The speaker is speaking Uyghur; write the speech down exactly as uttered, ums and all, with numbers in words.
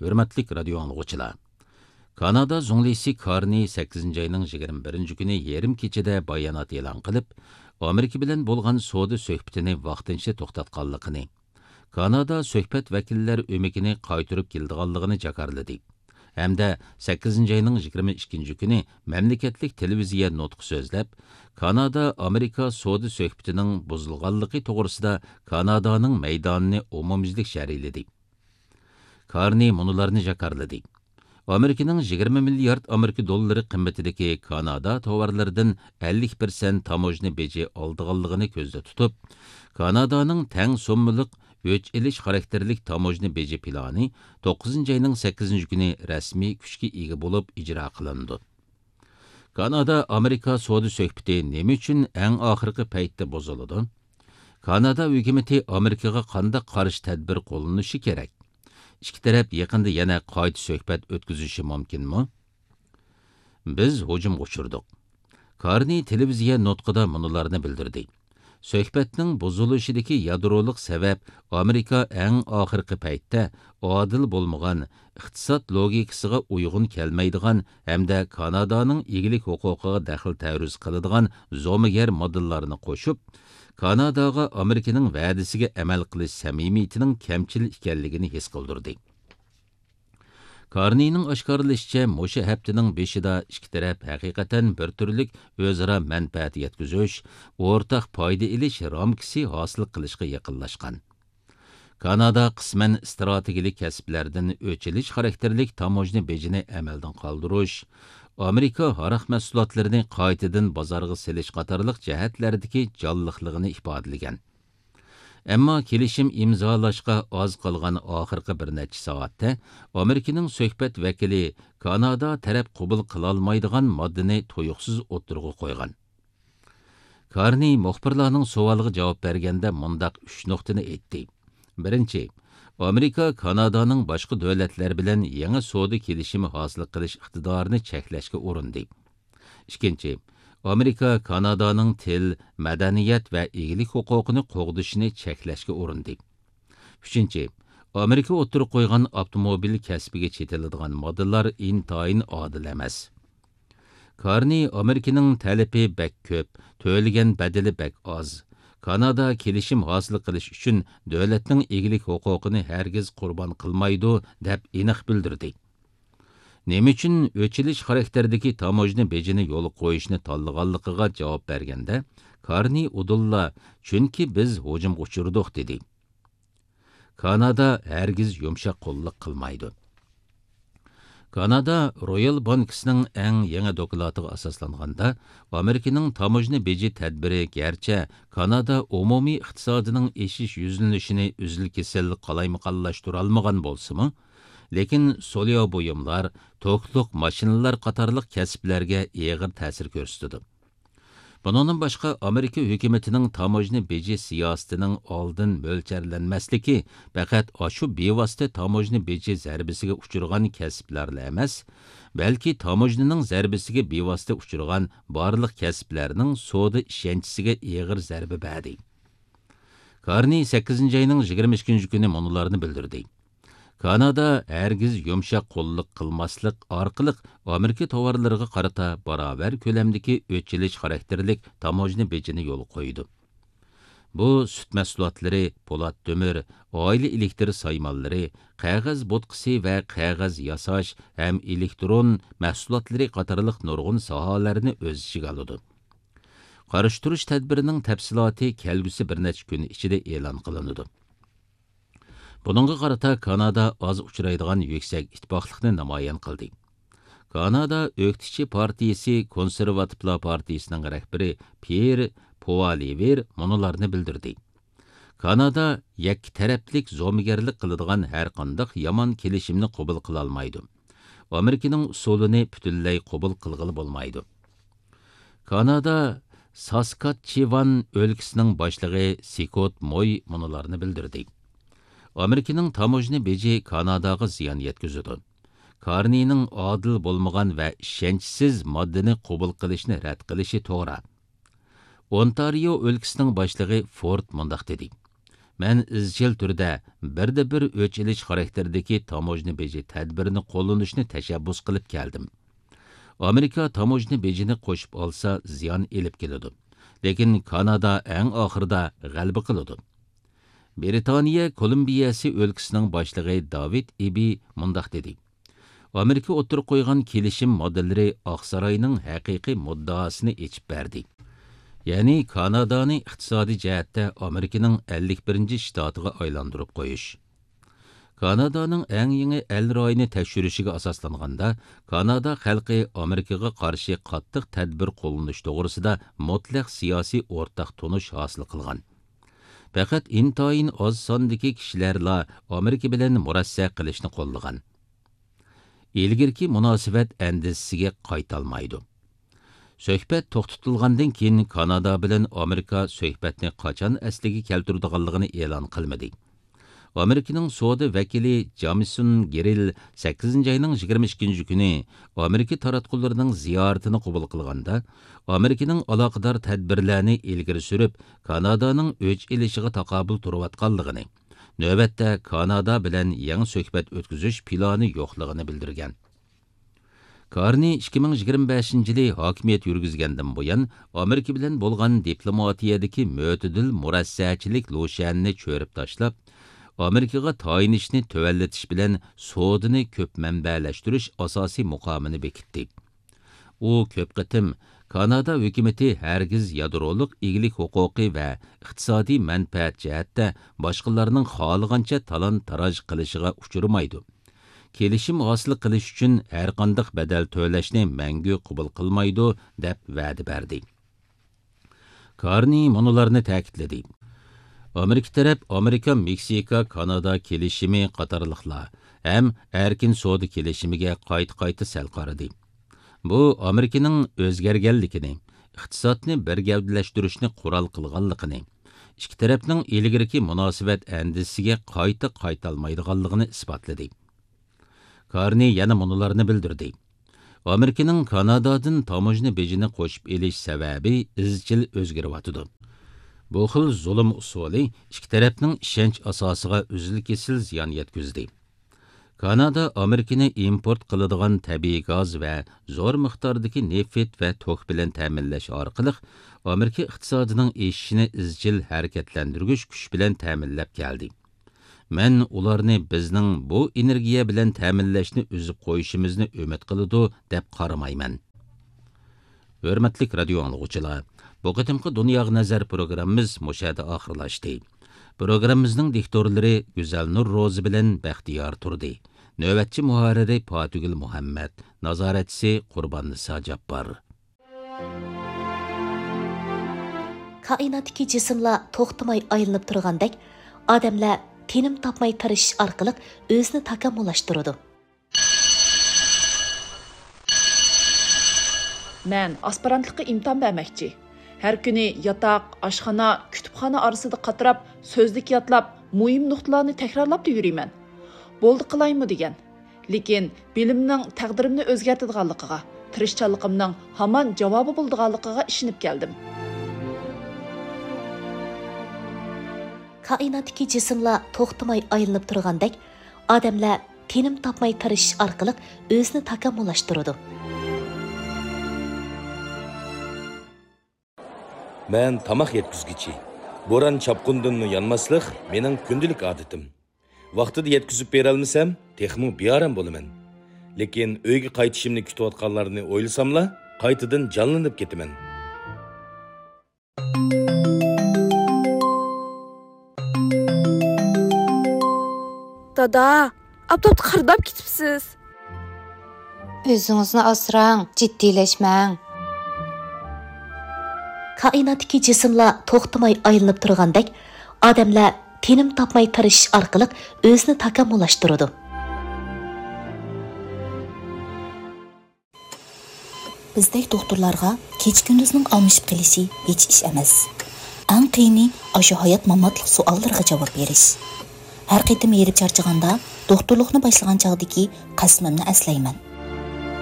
ھۆرمەتلىك رادىيو ئاڭلىغۇچىلار! كانادا زۇڭلىسى كارنى سەككىزىنچى ئاينىڭ يىگىرمە بىرىنچى كۈنى يېرىم كېچىدە بايانات ئېلان قىلىپ، ئامېرىكا بىلەن بولغان سودا سۆھبىتىنى ۋاقتىنچە توختاتقانلىقىنى، كانادا سۆھبەت ۋەكىللەر ئۆمىكىنى قايتۇرۇپ كېلىدىغانلىقىنى جاكارلىدى ھەمدە سەككىزىنچى ئاينىڭ يىگىرمە ئىككىنچى كۈنى مەملىكەتلىك تېلېۋىزىيە نۇتقى سۆزلەپ، كانادا ئامېرىكا سودا سۆھبىتىنىڭ بۇزۇلغانلىقى توغرىسىدا كانادانىڭ مەيدانىنى ئومۇميۈزلۈك شەرھلىدى. كارنى مۇنۇلارنى جاكارلىدى: ئامېرىكىنىڭ يىگىرمە مىليارد ئامېرىكا دوللىرى قىممىتىدىكى كانادا تاۋارلىرىدىن ئەللىك پىرسەنت تاموژنا بېجى ئالىدىغانلىقىنى كۆزدە تۇتۇپ، كانادانىڭ تەڭ سوممىلىق ئۆچ ئېلىش خاراكتېرلىك تاموژنا بېجى پىلانى توققۇزىنچى ئاينىڭ سەككىزىنچى كۈنى رەسمىي كۈچكە ئىگە بولۇپ ئىجرا قىلىنىدۇ. كانادا ئامېرىكا سودا سۆھبىتى نېمە ئۈچۈن ئەڭ ئاخىرقى پەيتتە بۇزۇلىدۇ؟ كانادا ھۆكۈمىتى ئامېرىكىغا قانداق قارشى تەدبىر قوللىنىشى كېرەك؟ ئىككى تەرەپ يېقىندا يەنە قايتا سۆھبەت ئۆتكۈزۈشى مۇمكىنمۇ؟ بىز ھۇجۇمغا ئۇچرىدۇق. كارنى تېلېۋىزىيە نۇتقىدا مۇنۇلارنى بىلدۈردى: سۆھبەتنىڭ بۇزۇلۇشىدىكى يادرولۇق سەۋەب ئامېرىكا ئەڭ ئاخىرقى پەيتتە ئادىل بولمىغان، ئىقتىساد لوگىكىسىغا ئۇيغۇن كەلمەيدىغان ھەمدە كانادانىڭ ئىگىلىك ھوقۇقىغا دەخلى تەرۇز قىلىدىغان زومىگەر ماددىلارنى قوشۇپ، كاناداغا ئامېرىكىنىڭ ۋەدىسىگە ئەمەل قىلىش سەمىمىيىتىنىڭ كەمچىل ئىكەنلىكىنى ھېس قىلدۇردى. كارنىنىڭ ئاشكارىلىشىچە، مۇشۇ ھەپتىنىڭ بېشىدا ئىككى تەرەپ ھەقىقەتەن بىر تۈرلۈك ئۆزئارا مەنپەئەت يەتكۈزۈش، ئورتاق پايدا ئېلىش رامكىسى ھاسىل قىلىشقا يېقىنلاشقان. كانادا قىسمەن ئىستراتېگىيەلىك كەسىپلەردىن ئۆچ ئېلىش خاراكتېرلىك تاموژنا بېجىنى ئەمەلدىن قالدۇرۇش، ئامېرىكا ھاراق مەھسۇلاتلىرىنى قايتىدىن بازارغا سېلىش قاتارلىق جەھەتلەردىكى جانلىقلىقىنى ئىپادىلىگەن. ئەمما كېلىشىم ئىمزالاشقا ئاز قالغان ئاخىرقى بىر نەچچە سائەتتە ئامېرىكىنىڭ سۆھبەت ۋەكىلى كانادا تەرەپ قوبۇل قىلالمايدىغان ماددىنى تۇيۇقسىز ئوتتۇرىغا قويغان. كارنى مۇخبىرلارنىڭ سوئالىغا جاۋاب بەرگەندە مۇنداق ئۈچ نۇقتىنى ئېيتتى. بىرىنچى، ئامېرىكا كانادانىڭ باشقا دۆلەتلەر بىلەن يېڭى سودا كېلىشىمى ھاسىل قىلىش ئىقتىدارىنى چەكلەشكە ئۇرۇندى. ئىككىنچى، ئامېرىكا كانادانىڭ تىل، مەدەنىيەت ۋە ئىگىلىك ھوقۇقىنى قوغدىشىنى چەكلەشكە ئۇرۇندى. ئۈچىنچى، ئامېرىكا ئوتتۇرىغا قويغان ئاپتوموبىل كەسپىگە چېتىلىدىغان ماددىلار ئىنتايىن ئادىل ئەمەس. كارنى ئامېرىكىنىڭ تەلىپى بەك كۆپ، تۆلىگەن بەدىلى بەك ئاز، كانادا كېلىشىم ھاسىل قىلىش ئۈچۈن دۆلەتنىڭ ئىگىلىك ھوقۇقىنى ھەرگىز قۇربان قىلمايدۇ، دەپ ئېنىق بىلدۈردى. نېمە ئۈچۈن ئۆچ ئېلىش خاراكتېرىدىكى تاموژنا بېجىنى يولغا قويۇشنى تاللىغانلىقىغا جاۋاب بەرگەندە، كارنى ئۇدۇللا، چۈنكى بىز ھۇجۇمغا ئۇچرىدۇق، دېدى. كانادا ھەرگىز يۇمشاق قوللۇق قىلمايدۇ. كانادا رويال بانكىسىنىڭ ئەڭ يېڭى دوكلاتىغا ئاساسلانغاندا، ئامېرىكىنىڭ تاموژنا بېجى تەدبىرى گەرچە كانادا ئومۇمىي ئىقتىسادىنىڭ ئېشىش يۈزلىنىشىنى ئۈزۈل-كېسىل قالايمىقانلاشتۇرالمىغان بولسىمۇ، لېكىن سولياۋ بۇيۇملار، توكلۇق ماشىنىلار قاتارلىق كەسىپلەرگە ئېغىر تەسىر كۆرسىتىدۇ. بۇنىڭدىن باشقا، ئامېرىكا ھۆكۈمىتىنىڭ تاموژنا بېجى سىياسىتىنىڭ ئالدىن مۆلچەرلەنمەسلىكى پەقەت ئاشۇ بىۋاسىتە تاموژنا بېجى زەربىسىگە ئۇچرىغان كەسىپلەرلا ئەمەس، بەلكى تاموژنىنىڭ زەربىسىگە بىۋاسىتە ئۇچرىغان بارلىق كەسىپلەرنىڭ سودا ئىشەنچىسىگە ئېغىر زەربە بەردى. كارنى سەككىزىنچى ئاينىڭ يىگىرمە ئىككىنچى كۈنى مۇنۇلارنى بىلدۈردى. كانادا ھەرگىز يۇمشاق قوللۇق قىلماسلىق ئارقىلىق ئامېرىكا تاۋارلىرىغا قارىتا باراۋەر كۆلەمدىكى ئۆچ ئېلىش خاراكتېرلىك تاموژنا بېجىنى يولغا قويىدۇ. بۇ سۈت مەھسۇلاتلىرى، پولات تۆمۈر، ئائىلە ئېلېكتىر سايمانلىرى، قەغەز بوتقىسى ۋە قەغەز ياساش ھەم ئېلېكترون مەھسۇلاتلىرى قاتارلىق نۇرغۇن ساھەلەرنى ئۆز ئىچىگە ئالىدۇ. قارشى تۇرۇش تەدبىرىنىڭ تەپسىلاتى كەلگۈسى بىر نەچچە كۈن ئىچىدە ئېلان قىلىنىدۇ. بۇنىڭغا قارىتا كانادا ئاز ئۇچرايدىغان يۈكسەك ئىتتىپاقلىقنى نامايان قىلدى. كانادا ئۆكتىچى پارتىيىسى كونسېرۋاتىپلار پارتىيىسىنىڭ رەھبىرى پيېر پوئالىۋېر مۇنۇلارنى بىلدۈردى: كانادا يەككە تەرەپلىك زومىگەرلىك قىلىدىغان ھەرقانداق يامان كېلىشىمنى قوبۇل قىلالمايدۇ. ئامېرىكىنىڭ ئۇسۇلىنى پۈتۈنلەي قوبۇل قىلغىلى بولمايدۇ. كانادا ساسكاتچېۋان ئۆلكىسىنىڭ باشلىقى سكوت موي مۇنۇلارنى بىلدۈردى: ئامېرىكىنىڭ تاموژنا بېجى كاناداغا زىيان يەتكۈزىدۇ. كارنىنىڭ ئادىل بولمىغان ۋە ئىشەنچسىز ماددىنى قوبۇل قىلىشنى رەت قىلىشى توغرا. ئونتارىيو ئۆلكىسىنىڭ باشلىقى فورد مۇنداق دېدى: مەن ئىزچىل تۈردە بىردە بىر ئۆچ ئېلىش خاراكتېرىدىكى تاموژنا بېجى تەدبىرىنى قوللىنىشنى تەشەببۇس قىلىپ كەلدىم. ئامېرىكا تاموژنا بېجىنى قوشۇپ ئالسا، زىيان ئېلىپ كېلىدۇ. لېكىن كانادا ئەڭ ئاخىرىدا غەلىبە قىلىدۇ. برىتانىيە كولومبىيەسى ئۆلكىسىنىڭ باشلىقى داۋىد ئىبى مۇنداق دېدى: ئامېرىكا ئوتتۇرىغا قويغان كېلىشىم ماددىلىرى ئاقساراينىڭ ھەقىقىي مۇددىئاسىنى ئېچىپ بەردى. يەنى كانادانى ئىقتىسادىي جەھەتتە ئامېرىكىنىڭ ئەللىك بىرىنچى شتاتىغا ئايلاندۇرۇپ قويۇش. كانادانىڭ ئەڭ يېڭى ئەل رايىنى تەكشۈرۈشىگە ئاساسلانغاندا، كانادا خەلقى ئامېرىكىغا قارشى قاتتىق تەدبىر قوللىنىش توغرىسىدا مۇتلەق سىياسىي ئورتاق تونۇش ھاسىل قىلغان. پەقەت ئىنتايىن ئاز ساندىكى كىشىلەرلا ئامېرىكا بىلەن مۇرەسسە قىلىشنى قوللىغان. ئىلگىرىكى مۇناسىۋەت ئەندىزىسىگە قايتالمايدۇ. سۆھبەت توختىتىلغاندىن كېيىن، كانادا بىلەن ئامېرىكا سۆھبەتنى قاچان ئەسلىگە كەلتۈرىدىغانلىقىنى ئېلان قىلمىدى. ئامېرىكىنىڭ سودا ۋەكىلى جامىسون گېرىل سەككىزىنچى ئاينىڭ يىگىرمە ئىككىنچى كۈنى ئامېرىكا تاراتقۇلىرىنىڭ زىيارىتىنى قوبۇل قىلغاندا، ئامېرىكىنىڭ ئالاقىدار تەدبىرلەرنى ئىلگىرى سۈرۈپ، كانادانىڭ ئۆچ ئېلىشىغا تاقابىل تۇرۇۋاتقانلىقىنى، نۆۋەتتە كانادا بىلەن يېڭى سۆھبەت ئۆتكۈزۈش پىلانى يوقلۇقىنى بىلدۈرگەن. كارنى ئىككى مىڭ يىگىرمە بەشىنچى يىلى ھاكىمىيەت يۈرگۈزگەندىن بۇيان، ئامېرىكا بىلەن بولغان دىپلوماتىيەدىكى مۆتىدىل مۇرەسسەچىلىك لۇشيەننى چۆرۈپ تاشلاپ، ئامېرىكىغا تايىنىشنى تۆۋەنلىتىش بىلەن سودىنى كۆپ مەنبەلەشتۈرۈش ئاساسىي مۇقامىنى بېكىتتى. ئۇ كۆپ قېتىم كانادا ھۆكۈمىتى ھەرگىز يادرولۇق ئىگىلىك ھوقۇقى ۋە ئىقتىسادىي مەنپەئەت جەھەتتە باشقىلارنىڭ خالىغانچە تالان-تاراج قىلىشىغا ئۇچرىمايدۇ، كېلىشىم ھاسىل قىلىش ئۈچۈن ھەرقانداق بەدەل تۆلەشنى مەڭگۈ قوبۇل قىلمايدۇ، دەپ ۋەدە بەردى. كارنى مۇنۇلارنى تەكىتلىدى: ئامېرىكا تەرەپ ئامېرىكا-مېكسىكا-كانادا كېلىشىمى قاتارلىقلار ھەم ئەركىن سودا كېلىشىمىگە قايتا-قايتا سەل قارىدى. بۇ ئامېرىكىنىڭ ئۆزگەرگەنلىكىنى، ئىقتىسادنى بىر گەۋدىلەشتۈرۈشنى قورال قىلغانلىقىنى، ئىككى تەرەپنىڭ ئىلگىرىكى مۇناسىۋەت ئەندىزىسىگە قايتا قايتالمايدىغانلىقىنى ئىسپاتلىدى. كارنى يەنە مۇنۇلارنى بىلدۈردى: ئامېرىكىنىڭ كانادادىن تاموژنا بېجىنى قوشۇپ ئېلىش سەۋەبى ئىزچىل ئۆزگىرىۋاتىدۇ. بۇ خىل زۇلۇم ئۇسۇلى ئىككى تەرەپنىڭ ئىشەنچ ئاساسىغا ئۈزۈل-كېسىل زىيان يەتكۈزدى. كانادا ئامېرىكىنى ئىمپورت قىلىدىغان تەبىئىي گاز ۋە زور مىقداردىكى نېفىت ۋە توك بىلەن تەمىنلەش ئارقىلىق ئامېرىكا ئىقتىسادىنىڭ ئېشىشىنى ئىزچىل ھەرىكەتلەندۈرگۈچ كۈچ بىلەن تەمىنلەپ كەلدى. مەن ئۇلارنى بىزنىڭ بۇ ئېنېرگىيە بىلەن تەمىنلەشنى ئۈزۈپ قويۇشىمىزنى ئۈمىد قىلىدۇ، دەپ قارىمايمەن. ھۆرمەتلىك رادىيو ئاڭلىغۇچىلار، بۇ قېتىمقى دۇنياغا نەزەر پروگراممىمىز مۇشۇ يەردە ئاخىرلاشتى. پروگراممىمىزنىڭ دىكتورلىرى گۈزەلنۇر روزى بىلەن بەختىيار تۇردى. نۆۋەتچى مۇھەررىرى پاتىگۈل مۇھەممەد، نازارەتچىسى قۇرباننىسا جاپپار. كائىناتتىكى جىسىملار توختىماي ئايلىنىپ تۇرغاندەك، ئادەملەر تىنىم تاپماي تىرىشىش ئارقىلىق ئۆزىنى تاكامۇللاشتۇرىدۇ. مەن ئاسپىرانتلىققا ئىمتىھان بەرمەكچى. ھەر كۈنى ياتاق، ئاشخانا، كۇتۇپخانا ئارىسىدا قاتراپ، سۆزلۈك يادلاپ، مۇھىم نۇقتىلارنى تەكرارلاپلا يۈرىمەن. بولدى قىلايمۇ دېگەن. لېكىن بىلىمنىڭ تەقدىرىمنى ئۆزگەرتىدىغانلىقىغا، تىرىشچانلىقىمنىڭ ھامان جاۋابى بولىدىغانلىقىغا ئىشىنىپ كەلدىم. كائىناتتىكى جىسىملار توختىماي ئايلىنىپ تۇرغاندەك، ئادەملەر تىنىم تاپماي تىرىشىش ئارقىلىق ئۆزىنى تاكامۇللاشتۇرىدۇ. مەن تاماق يەتكۈزگۈچى. بوران-چاپقۇندىنمۇ يانماسلىق مېنىڭ كۈندىلىك ئادىتىم. ۋاقتىدا يەتكۈزۈپ بېرەلمىسەم، تېخىمۇ بىئارام بولىمەن. لېكىن ئۆيگە قايتىشىمنى كۈتۈۋاتقانلارنى ئويلىساملا، قايتىدىن جانلىنىپ كېتىمەن. دادا، ئاپتاپتا قارىداپ كېتىپسىز. ئۆزىڭىزنى ئاسراڭ، جىددىيلەشمەڭ. كائىناتتىكى جىسىملار توختىماي ئايلىنىپ تۇرغاندەك، ئادەملەر تىنىم تاپماي تىرىشىش ئارقىلىق ئۆزىنى تاكامۇللاشتۇرىدۇ. بىزدەك دوختۇرلارغا كېچە-كۈندۈزنىڭ ئالمىشىپ قېلىشى ھېچ ئىش ئەمەس. ئەڭ قىيىنى ئاشۇ ھايات-ماماتلىق سوئاللىرىغا جاۋاب بېرىش. ھەر قېتىم ھېرىپ چارچىغاندا، دوختۇرلۇقنى باشلىغان چاغدىكى قەسىمىمنى ئەسلەيمەن.